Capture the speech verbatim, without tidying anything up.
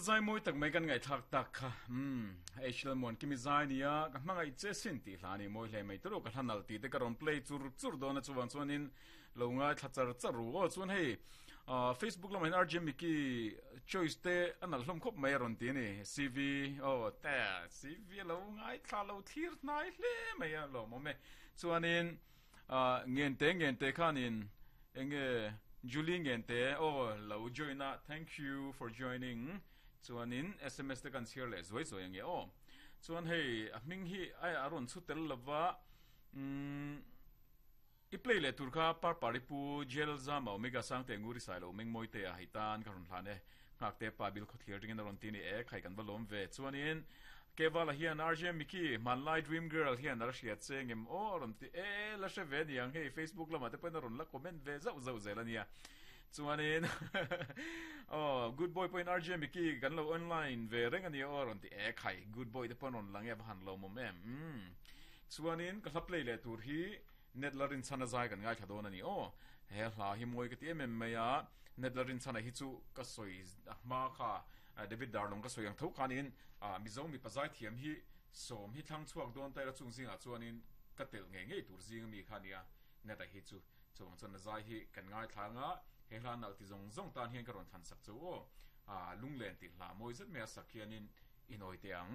Zai mawi tak mai kan ngaihthlak tak kha umm H L Muan Kimi zai nia ka hmangaih che sin tih hla ani mawi hle mai tawrh ka hla nalh tih te ka rawn play chur chur dawn a chuvang chuanin lo ngaithla char char ru aw chuan hei ah Facebook lamah hian R J Mickey choice te a nalh hlawm khawp mai a rawn ti a ni C V aw te C V a lo ngaithla lo thlir hnai hle mai a lawmawm e chuanin ah Ngente Ngente khanin Enge Julie Ngente aw lo join a thank you for joining chuanin sms te kan chhiar leh zuai zuai ange aw chuan hei a hming hi a a rawn chhu tel lova umm i play leh tur kha Parpari pu Jel Zama Omega Sangte Nguri Sailo Mengmawi te a hei tan ka rawn hlan e Nghak te pa bil khawthlir ringin a rawn ti ni e khai kan va lawm ve chuanin Kevala hian R J Mickey hmanlai Dream Girl hian a la hriat che ngem aw a rawn ti e la hre ve niang hei Facebook lamah te pawhin a rawn la comment ve zauh zauh zel a nia chuanin aw Good Boy pawhin R J Mickey kan lo online ve reng a nia aw a rawn ti e khai Good Boy te pawh an rawn lang e a va han lawmawm em umm chuanin ka hla play leh tur hi Net la rinchhana zai kan ngaithla dawn a ni aw he hla hi mawi ka ti em em mai a Net la rinchhana hi chu ka sawi a hma kha David Darlong ka sawi ang tho khanin Mizo mipa zaithiam hi sawm hi thlang chhuak dawn ta ila chung zingah chuanin ka telh ngei ngei tur zing ami kha nia Neta hi chu chuvang chuan a zai hi kan ngaithla anga he hla nalh ti zawng zawng tan hian ka rawn thlan sak chu aw lunglen tih hla mawi zet mai a sak hianin inawi teh ang.